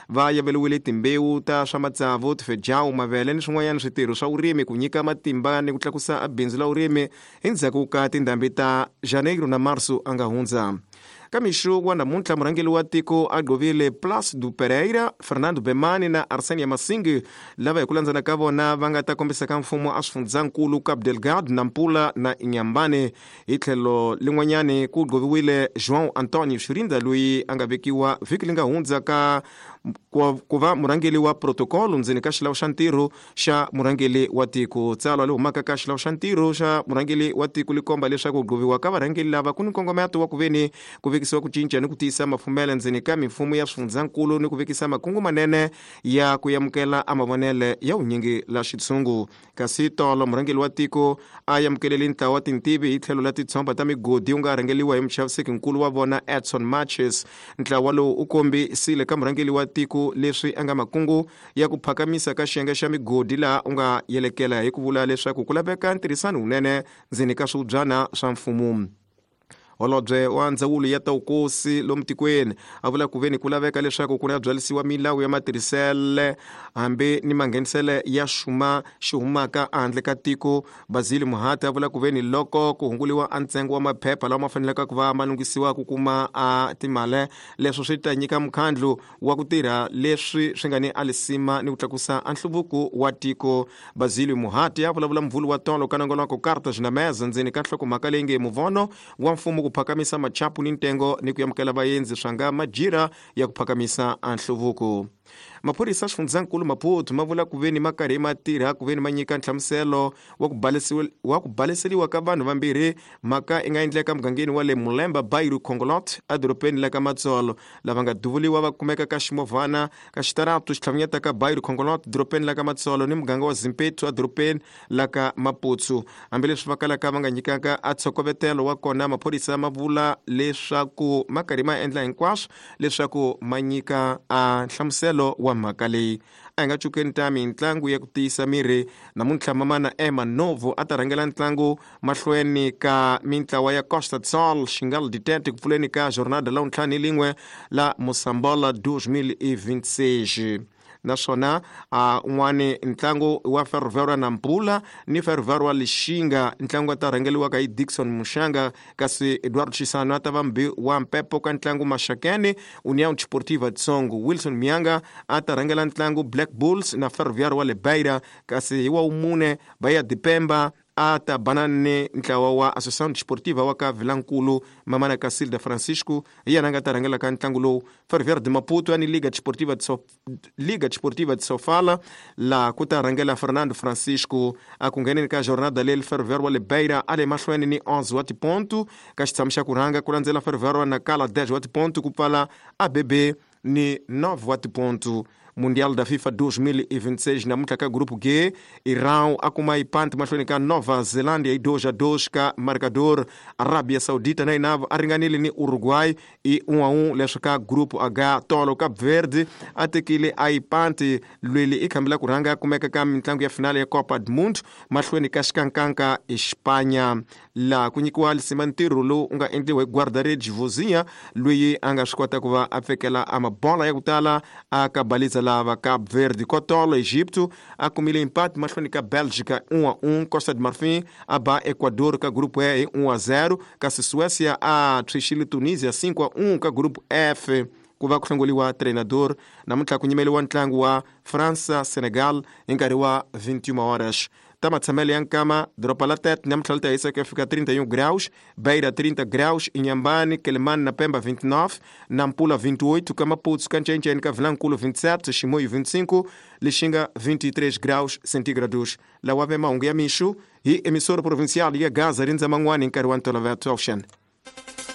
Va yaveliwile timbewu ta swa matsavu, tifejawu, mavele ni swin'wanyana switirho swa vurimi ku nyika matimba ni ku tlakusa bindzu la vurimi endzhaku ka tindhambi ta Janeiro na Março a nga hundza. Ka mixo wa namuntlha murhangeri wa tiko a gqovile Plácido Pereira, Fernando Bemani na Arsénia Masingi, lava hi ku landzana ka vona va nga ta kombisa ka mfumo a swifundzhankulu Cabo Delgado, Nampula na Inhambane. Hi tlhelo lin'wanyani ku gqoviwile João Antonio Shirinda, loyi a nga vekiwa vhiki li nga hundza ka ku va murhangeri wa protocolo ndzeni ka xilawu xa ntirho xa murhangeri wa tiko. Tsalwa li humaka ka xilawu xa ntirho xa murhangeri wa tiko li komba leswaku ku gqoviwa ka varhangeri lava ku ni nkongometo wa ku veni ku vekisiwa ku cinca ni ku tiyisa mafumele ndzeni ka mimfumo ya swifundzhankulu ni ku vekisa makungu manene ya ku amukela a mavonele ya vunyingi la xitshungu. Kasi tolo murhangeri wa tiko a amukelele ntlawa wa tintivi hi tlhelo la titshomba ta migodi wu nga rhangeriwa hi muchaviseki-nkulu wa vona Edson Marches. Ntlawa lowu u kombisile ka murhangeri wa tiko leswi a nga makungu ya ku phakamisa ka xiyenge xa migodi, laha u nga yelekela hi ku vula leswaku ku laveka ntirhisano wunene ndzeni ka swivubyana swa mfumo. Holobye wa ndzawulo ya ta vukosi lomu tikweni a vula ku veni ku laveka leswaku ku na byalisiwa milawu ya matirhisele hambi ni manghenisele ya xuma xi humaka ehandle ka tiko. Basile Muhati a vula ku veni loko ku hunguliwa a ntsengo wa maphepha lawa ma faneleke ku va ma lunghisiwa ku kuma a timali, leswo swi ta nyika mukhandlu wa ku tirha leswi swi nga ni alisima ni ku tlakusa a nhluvuko wa tiko. Basile Muhati a vulavula mvulu wa tolo ka nongonoko Cartas na Mesa ndzeni ka nhlokomhaka leyi nge muvono wa mfumo ku phakamisa machapu ni ntengo ni ku amukela vaendzi swa nga majira ya ku phakamisa a nhluvuko. Maphorisa xifundzankulu Maputo ma vula ku veni ma karhi ma tirha ku veni ma nyika nhlamuselo wa ku baleseriwa ka vanhu vambirhi. Mhaka i nga endleka mugangeni wa le Mulemba Bairu Khongolot edorobeni la ka Matsolo. Lava nga duvuliwa va kumeka ka ximovhana ka xitaratu xitlhavunyeta ka Bairu Khongolot dorobeni la ka Matsolo ni muganga wa Zimpetu edorobeni la ka Maputsu. Hambileswi va kalaka va nga nyikaka a tshokovetelo wa kona, maphorisa ma vula leswaku ma karhi ma endla hinkwaswo leswaku ma nyika a nhlamuselo wa mhaka leyi. A hi nga cukeni ta mintlangu ya ku tiyisa miri. Namuntlha mamana Emma Novo a ta rhangela ntlangu mahlweni ka mintlawa ya Costa do Sol Xingal Ditete ku pfuleni ka jornada la wuntlhanu ni lin'we la Mosambola 2026. Naswona a un'wani ntlangu wa Ferroviário Nampula ni Ferroviário wa Lixinga, ntlangu wa ta rhangeliwaka hi Dickson Mushanga, kasi Eduardo Chisano a ta va mbi wa mpepo ka ntlangu Maxakeni União Desportiva de Songo. Wilson Mianga a ta rhangela ntlangu Black Bulls na Ferroviário wa le Beira, kasi hi wa wumune Bahia de Pemba a ta bana ni ntlawa wa Associação Desportiva wa ka Vilankulu. Mamana Casilda Francisco hi yena a nga ta rhangela ka ntlangu lowu. Ferroviário de Maputo ni Liga Desportiva de Sofala, laha ku ta rhangela Fernando Francisco. A ku ngheneni ka jornada leyi, Ferroviário wa le Beira a le mahlweni ni 11 wa tipontu ka xitshamo xa ku rhanga, ku landzela Ferroviário wa Nacala 10 wa tipontu, ku pfala ABB ni 9 wa tipontu. Mundial da FIFA 2026 namuntlha ka grupo G, Irão a kuma ipanti mahlweni ka Nova Zelândia hi 2-2 ka marcador. Arabia Saudita na yina a ringanile ni Uruguay i 1-1 leswi ka grupo H. Tolo Cape Verde a tekile a ipanti lweli i khambela ku rhanga kumeka ka mintlangu ya finale ya Copa do Mundo mahlweni ka xikankanka Espanha. Laha ku nyikiwa lisima ntirho lowu u nga endliwa hi guarda-redes Vozinha, loyi a nga swi kota ku va a pfekela a mabola ya ku tala a ka baliza lava Cape Verde. Kotolo Egipto a kumile empate mahlweni ka Bélgica 1-1. Costa de Marfim a ba Ecuador ka grupo E hi 1-0, kasi Suécia a tshwixile Tunisia 5-1 ka grupo F. Ku va ku hlongoliwa treinador namuntlha ku nyimeliwa ntlangu wa França Senegal hi nkarhi wa 21 horas. Ta matshamelo ya nkama, doroba la Tete namuntlha li ta hisa ku ya fika 31 graus, Beira 30 graus, Inhambane, Quelimane na Pemba 29, Nampula 28, ka Maputo ka Ncencene ka Vilankulu 27, Chimoio 25, Lixinga 23 graus centígrados. Lawa ve mahungu ya mixo hi emissora provincial ya Gaza rindza man'wani hi nkarhi wa ntolovelo. Ocean.